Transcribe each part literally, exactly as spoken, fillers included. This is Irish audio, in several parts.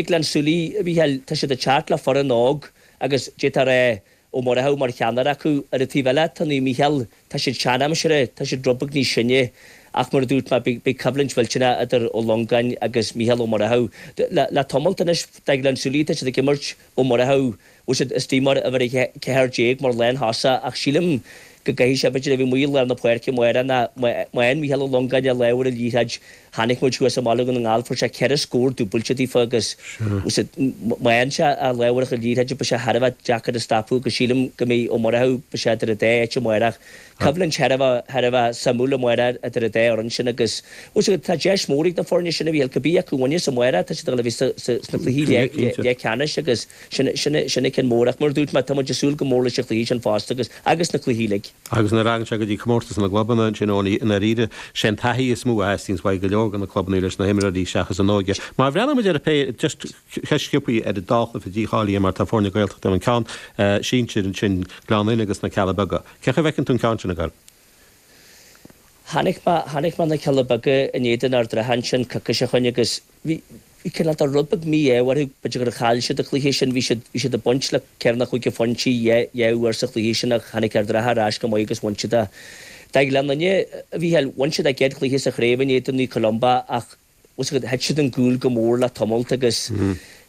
Gleann tSúilí, a Mhícheáil, tá siad ag teacht le foireann óg agus d'fhéadfá a rá Ó Murchú mar cheannaire acu. Ar an taobh eile, tá Naomh Mícheál, tá siad seanaimseartha, tá siad rud beag níos sine ach mar a dúirt mé, beidh coimhlint mhillteanach idir Ó Longáin agus Mícheál Ó Murchú. Le tamalt anois, do Ghleann tSúilí, tá siad ag imirt Ó Murchú, bhfuil siad istigh mar uimhir a ceathair déag mar lántosaí ach sílim go gcaithfidh sé, b'fhéidir, a bheith amuigh i lár na páirce amárach ná má fhaigheann Mícheál Ó Longáin a lámh ar an liathróid, chonaic muid thuas i mBaile Dhún na nGall, fuair sé ceithre scór dúbailte daofa agus má fhaigheann sé a lámh ar an liathróid beidh sé thar a bheith deacair a stopadh agus sílim go mbeidh Ó Murchú, beidh sé idir an dá áit amárach. Coimhlint thar a bheith, thar a bheith suimiúil amárach idir an dá fhoireann sin agus tá deis mhór ag na foirne sin a Mhícheáil, cibé acu a bhaineas amárach, tá siad ag dul a bheith sna cluichí leathcheannais agus sin, sin, sin an ceann mór ach mar a dúirt mé, tá muid ag súil go mór leis an chluiche sin fosta agus, agus na cluichí uilig. Agus nuair a thagann sé go dtí comórtas na gclubanna ansin, Eoiní, i ndáiríre, sé an taithí is mó a theastaíonns uaidh go leor de na clubanna leis na himreoirí seachas an óige. Má bhreathnaíonn muid ar an pé, just ceist sciobtha ar an dá chluiche dícháilithe mar tá foirne Gaeltachta ann, an ceann sinsir ansin, Gleann Fhinne agus na Cealla Beaga. Cén chaoi a bhfeiceann tú an ceann sin ag goil? Chonaic mé, chonaic mé na Cealla Beaga in éadan Ard an Rátha ansin coicís ó shoin agus bhí, bhí cineál de rud beag mí-ádh orthu, b'fhéidir gur chaill siad an cluiche sin, bhí siad, bhí siad ag baint le ceithre nó cúig phointe dhá, dhá uair sa chluiche sin ach tháinig Ard an Rátha ar ais go maith agus bhain siad é. Do Ghleann Fhinne, a Mhícheáil, bhain siad a gcéad chluiche sa chraobh in éadan Naomh Columba ach, bhfuil a fhios agat, thit siad an gcúl go mór le tamalt agus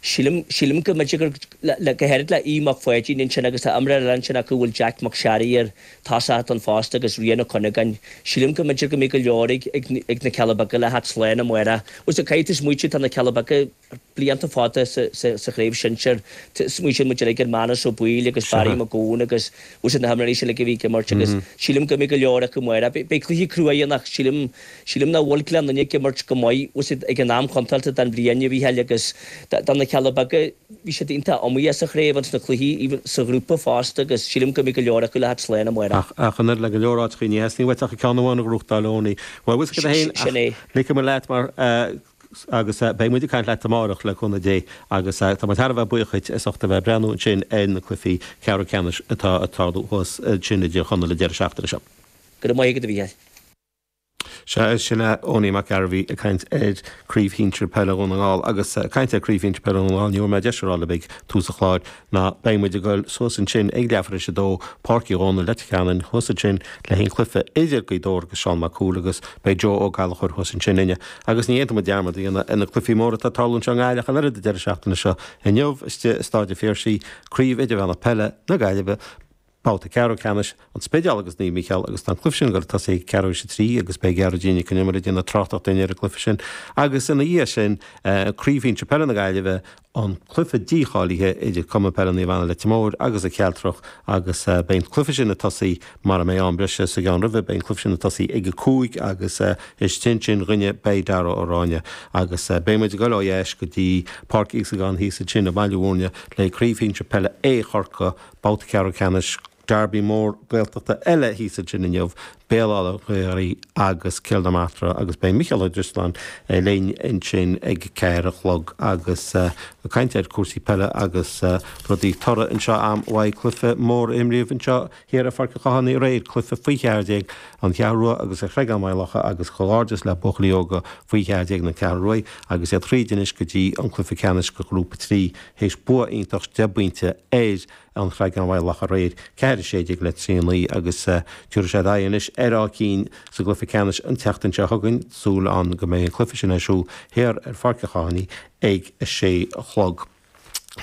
sílim, sílim go mb'fhéidir gur, le, le, go háirid le Aodh Mac Pháidín ansin agus tá imreoir eile ansin acu a bhfuil Jack Mac Searraigh air, tosach ann fosta agus Rian Ó Cuinneagáin, sílim go mb'fhéidir go mbeidh go leor ag, ag, ag na Cealla Beaga le theacht slán amárach. Bhfuil a fhios agat, caithfidh tú smaoitiú, tá na Cealla Beaga blianta fada sa, sa, sa chraobh shinsir, smaoitíonn muid uilig ar Manus Ó Baoill agus Barry Mac Gabhann agus bhfuil a fhios agat na himreoirí sin uilig a bhí ag imirt agus sílim go mbeidh go leor acu amárach. Beidh cluiche crua ann ach sílim, sílim nach bhfuil Gleann Fhinne ag imirt go maith, bhfuil a fhios agat, ag an am contúirteach den bhliain, a Mhícheáil, agus do na Cealla Beaga, bhí siad iontach iomaíoch sa chraobh ins na cluichí, even sa ghrúpa fosta agus sílim go mbeidh go leor acu le theacht slán amárach. Ach, ach an oiread le go leor áiteachaí ní theastaíonn uait ach ceann amháin a ghnóthachtáil, Eoiní. Bhuel, bhfuil a fhios agat féin, Sin é. ach ligfidh mé leat mar eh, agus beidh muid ag caint leat amárach le cúnamh Dé agus tá muid thar a bheith buíoch dhuit as ucht a bheith ag breathnú ansin ar na cluichí ceathrú ceannais atá ag tarlú thuas ansin i dTír Chonaill an deireadh seachtaine seo. Go raibh maith agat, a Mhícheáil. Sea, sin é Eoiní Mac Gairbhí ag caint ar Craobh Shinsir Peile Dhún na nGall agus ag caint ar Craobh Shinsir Peile Dhún na nGall, ní bhfuair mé deis a rá libh ag tús an chláir ná beidh muid ag goil suas ansin ag leathuair tar éis a dó, Páirc Uí Dhónaill, Leitir Ceanainn, thuas ansin le haghaidh an chluiche idir Gaoth Dobhair agus Seán Mac Cumhaill agus beidh Joe Ó Gallchóir thuas ansin linne. Agus ní fhéadfaidh muid dearmad a dhéanamh ar na cluichí móra atá ag tarlú anseo i nGaillimh ach an oiread an deireadh seachtaine seo. Inniu, istigh i Staid an Phiarsaigh, Craobh Idirmheánach Peile na Gaillimhe, Babhta ceathrú ceannais, An Spidéal agus Naomh Mícheál agus tá an cluiche sin ag dul ag tosaí ag ceathrú théis a trí agus beidh Gearóidín Nic Con Iomaire ag déanamh tráchtaireacht dúinn ar an gcluiche sin. Agus ina dhiaidh sin, Craobh Shinsir Peile na Gaillimhe, an cluiche dícháilithe idir Cumann Peile Naomh Anna Leitir Móir agus an Chealtrach agus beidh an cluiche sin ag tosaí mara mbeidh am breise sa gceann roimhe, beidh an cluiche sin ag tosaí ag a cúig agus istigh ansin dhúinne beidh Dara Ó Ráinne agus beidh muid ag dul ó dheas go dtí Páirc Íosagáin thíos ansin i mBaile Bhúirne le Craobh Shinsir Peile A Chorcaí, Babhta ceathrú ceannais, Derby mór Gaeltachta eile thíos ansin inniu, Béal Átha Ghaorthaidh agus Cill na Martra agus beidh Micheál Ó Drisleáin linn ansin ag ceathair a chlog agus ag caint ar cúrsaí peile agus rudaí. Toradh anseo am mhaith cluiche mór a imríodh anseo thiar ar Pháirc an Chathánaigh aréir, cluiche faoi cheathair déag, An Cheathrú Rua agus An Chreagán Maigh Locha agus comhghairdeas le buachaillí óga faoi cheathair déag na Ceathrún Rua agus iad thríd anois go dtí an cluiche ceannais do Ghrúpa trí. Théis bua iontach deich bpointe ar An Chreagán Mhaigh Locha aréir, ceathair a sé déag le trí a naoi, agus tabharfaidh siad aghaidh anois ar Áth Cinn sa gcluiche ceannais an tseachtain seo chugainn. Súil ann go mbeidh an cluiche sin ar siúl thiar ar Pháirc an Chathánaigh ag a sé a chlog.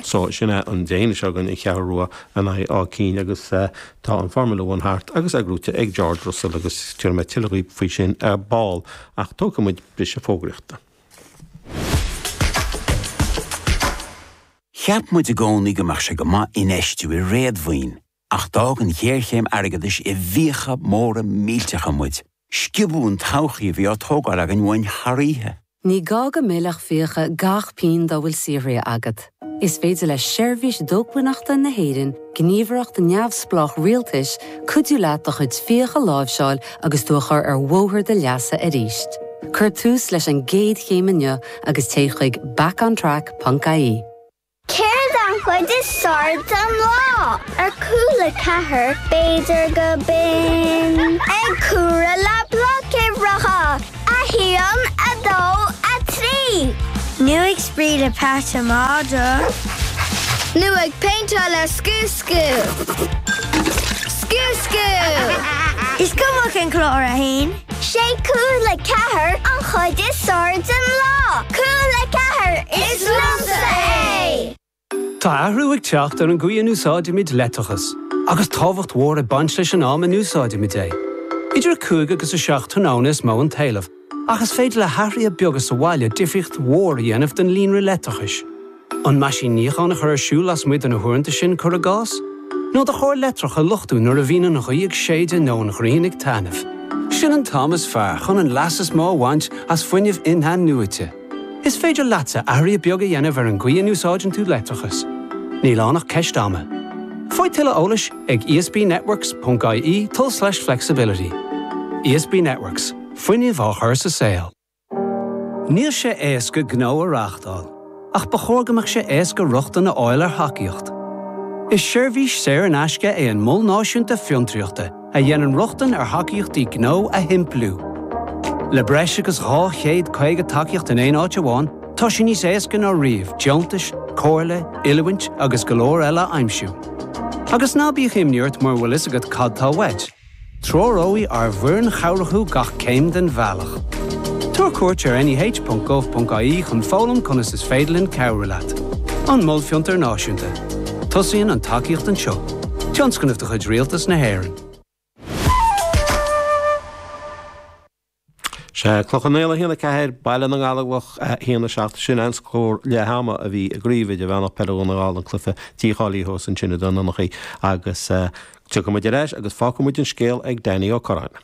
So, sin é an Dé hAoine seo chugainn, An Cheathrú Rua in aghaidh Áth Cinn agus tá an Formula One thart agus é gnóite ag George Russell agus tabharfaidh mé tuilleadh dhaoibh faoi sin ar ball. Ach tógfaidh muid briseadh fógraíochta. Cheap muid i gcónaí go mbeadh sé go maith infheistiú i réadmhaoin, ach d'fhág an ghéarchéim airgeadais i bhfiacha móra millteacha muid. Sciobadh an todhchaí a bhí á tógáil againn uainn thar oíche. Ní gá go millfeadh fiacha gach pingin dá bhfuil saothraithe agat. Is féidir le Seirbhís Dócmhainneachta na hÉireann, gníomhaireacht neamhspleách rialtais, cuidiú leat do chuid fiach a láimhseáil agus tú a chur ar bhóthar do leasa arís. Cuir tús leis an gcéad chéim inniu agus téigh chuig backontrack ponc ie. Céard an chuid is fearr den lá? Ar Cúla ceathair, b'fhéidir go binn ag comhaireamh le blocuimhreacha, a haon, a dó, a trí! Nó ag spraoi le peata madra. Nó ag péinteáil le Scú Scú. Scú Scú! Is cuma cén clár a haon. Sé Cúla Ceathair an chuid is fearr den lá. Cúla Ceathair is liomsa é! Tá athrú ag teacht ar an gcaoi a n-úsáidimid leictreachas, agus tábhacht mhór ag baint leis an am a n-úsáidimid é. Idir a cúig agus a seacht tráthnóna is mó an t-éileamh, ach is féidir le hathruithe beaga sa bhaile difríocht mhór a dhéanamh don líonra leictreachais. An meaisín níocháin a chur ar siúl lasmuigh de na huaireanta sin cuir i gcás? Nó do charr leictreach a luchtú nuair a bhíonn an ghaoth ag séideadh nó an ghrian ag taitneamh. Sin an t-am is fearr chun an leas is mó a bhaint as fuinneamh in-athnuaite. Is féidir leatsa athruithe beaga a dhéanamh ar an gcaoi a n-úsáideann tú leictreachas. Níl ann ach ceist ama. Faigh tuilleadh eolais ag E S B networks ponc I E tulslais flexibility. E S B Networks, fuinneamh á chur sa saol. Níl sé éasca gnó a reáchtáil, ach ba chóir go mbeadh sé éasca rochtain a fháil ar thacaíocht. Is seirbhís saor in aisce é an Mol Náisiúnta Fiontraíochta a dhéanann rochtain ar thacaíochtaí gnó a shimpliú. Le breis agus dhá chéad caoga tacaíocht in aon áit amháin, tá sé níos éasca ná riamh deontais, comhairle, oiliúint agus go leor eile a aimsiú. Agus ná bíodh imní ort mura bhfuil a fhios agat cad tá uait. Treoróidh ár bhfoireann chabhrach thú gach céim den bhealach. Tabhair cuairt ar N E H ponc gov ponc I E chun foghlaim conas is féidir linn cabhrú leat. An Mol Fiontar Náisiúnta. Tosaíonn an tacaíocht anseo. Tionscnamh de chuid Rialtas na hÉireann. Sé Cloich Cheann Fhaola a haon a ceathair, Baile na nGallóglach a haon a seacht, sin an scór leath ama a bhí i gcraobh idirmheánach peile Dhún na nGall, an cluiche dícháilithe thuas ansin i dTuar Donnchaidh, agus tiocfaidh muid ar ais agus fágfaidh muid an scéal ag Danny Ó Curráin.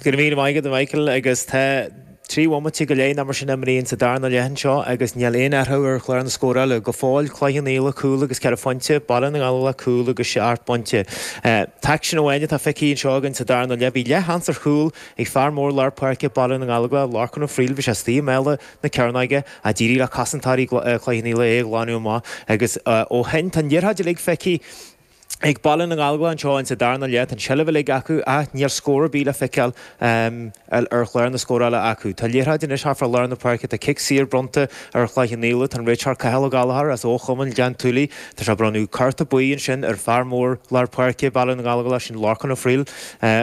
Go raibh míle maith agat, Michael, agus tá trí bhomaite go leith mar sin imithe sa darna leath anseo agus níl aon athrú ar chlár na scórála go fóill. Cloich Cheann Fhaola cúl agus ceithre phointe, Baile na nGallóglach cúl agus seacht bpointe. T-aicsean amháin atá feicthe anseo againn sa darna leath, bhí leathsheans ar chúl ag fear mór lár páirce Baile na nGallóglach, Lorcan Ó Frighil. Bhí sé istigh i mbéal na cearnóige ach d'éirigh le cosantóirí Chloich Cheann Fhaola é a ghlanadh amach, agus ó shin tá an liathróid uilig feicthe ag Baile na nGallóglach anseo in sa darna leath. Tá an seilbh uilig acu ach níl scór ar bith le feiceáil ar chlár na scórála acu. Tá liathróid anois thart fá lár na páirce, tá cic saor bronnta ar Chloich Cheann Fhaola, tá an réiteoir Cathal Ó Gallchóir as Ó Chumann Ghleann tSúilí. Tá sé bronnadh cárta buí ansin ar fear mór lár páirce Baile na nGallóglach, sin Lorcan Ó Frighil,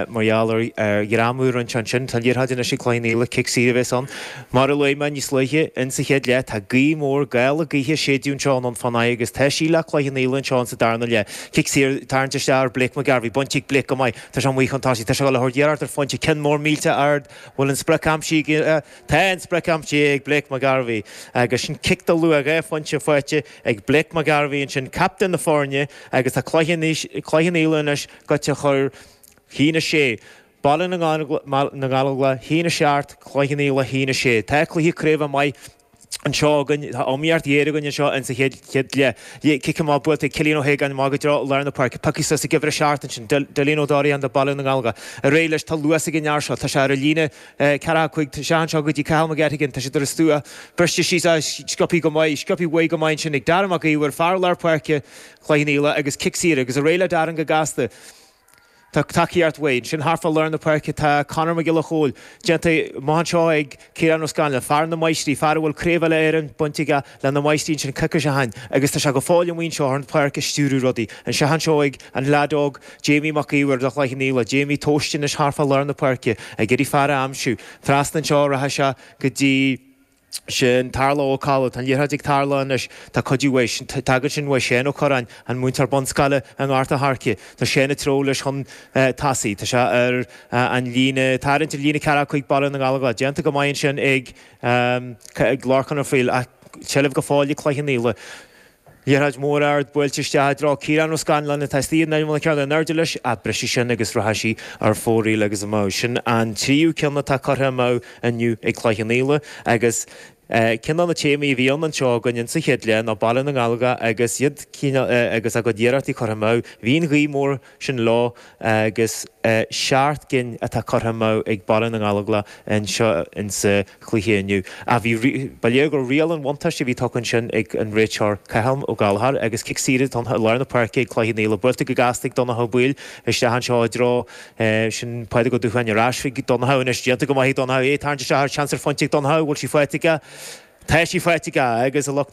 mar gheall ar ghreamú roinnt ansin. Tá liathróid anois ag Cloich Cheann Fhaola, cic saor a bheas ann. Mar a luaigh mé níos luaithe in sa chéad leath, tá gaoth mór gála gaoithe ag séideadh anseo anonn fán agus tá sí le Cloich Cheann Fhaola anseo in sa darna leath. Cic saor tarraingthe isteach ar Blake McGarvey, bainte ag Blake go maith, tá sé amuigh chun tosaigh, tá sé le thabhairt iarracht ar phointe, ceann mór millteach ard, bhfuil an sprioc aimsithe? Tá an sprioc aimsithe ag Blake McGarvey agus sin cic de luach dhá phointe faighte ag Blake McGarvey ansin, captaen na foirne, agus tá Cloich Cheann Fhaola anois gaibhte chun haon a sé. Baile na nGallóglach haon a seacht, Cloich Cheann Fhaola haon a sé. Tá cluiche craoibhe maith anseo againn, tá iomaíocht ghéar againn anseo in sa chéad chéad leath. Cic amach buailte ag Cillian Ó hAogáin amach go dtreo lár na páirce, pioctha suas ag uimhir a seacht ansin, Dillian Ó Dóraí do Baile na nGallóglach. Ar aghaidh leis, tá luas ag an fhear seo, tá sé ar an líne ceathracha cúig, tá sé anseo go dtí Cathal McGettigan, tá sé ar an stua, briste síos, sciobtha go maith, sciobtha uaidh go maith ansin ag Darren Mac Íomhair, fear lár páirce Chloich Cheann Fhaola, agus cic saor agus ar aghaidh le Darren go gasta. Tá tacaíocht uaidh. Ansin thart fá lár na páirce tá Conor Mac Giolla Chóill, déanta maith anseo ag Ciarán Ó Scanláin, fear na Máistrí, fear a bhfuil craobh uile Éireann bainte aige le na Máistrí ansin coicís ó shin, agus tá sé go fóill amuigh anseo ar an pháirc ag stiúradh rudaí. Anseo anseo ag an leaid óg Jamie Mac Íomhair do Chloich Cheann Fhaola. Jamie tomhaiste anois thart fá lár na páirce ag iarraidh fear a aimsiú. Trasna anseo rachaidh sé go dtí sin Tarla Ó Cadhla, tá an liathróid ag Tarla anois, tá cuidiú uaidh, tagann sin uaidh Shane Ó Curráin, an múinteoir bunscoile i nGort a' Choirce. Tá Shane ag treabhadh leis chun tosaigh. Tá sé ar an líne, tarraingt ar líne ceathracha cúig Baile na nGallóglach. Déanta go maith ansin ag ag Lorcán Ó Frighil ach seilbh go fóill ag Cloich Cheann Fhaola. Liathróid mhór ard buailte isteach i dtreo Ciarán Ó Scanláin atá istigh in imeall na cearnóige in airde leis ach briseadh sin agus rachaidh sí ar fóraoil agus amú. Sin an tríú ceann atá curtha amú inniu ag Cloich Cheann Fhaola, agus ceann de na téamaí a bhí ann anseo againn insa chéad leath ná Baile na nGallóglach agus iad agus a gcuid iarrachtaí curtha amú. Bhí an ghaoth mhór sin leo agus seacht gcinn atá curtha amú ag Baile na nGallóglach anseo insa chluiche inniu. Ach bhí, ba léir gur riail an bhuntáiste a bhí tugtha ansin ag an réiteoir Cathal Ó Gallchóir, agus cic saor atá i lár na páirce ag Cloich Cheann Fhaola, buailte go gasta ag Donncha Ó Baoill isteach anseo i dtreo sin Pádraig Ó Dúcháin, ar ais chuig Donncha anois, déanta go maith ag Donncha, é ag tarraingt isteach, seans ar phointe ag Donncha, bhfuil sí faighte aige? Tá sí faighte agus a lucht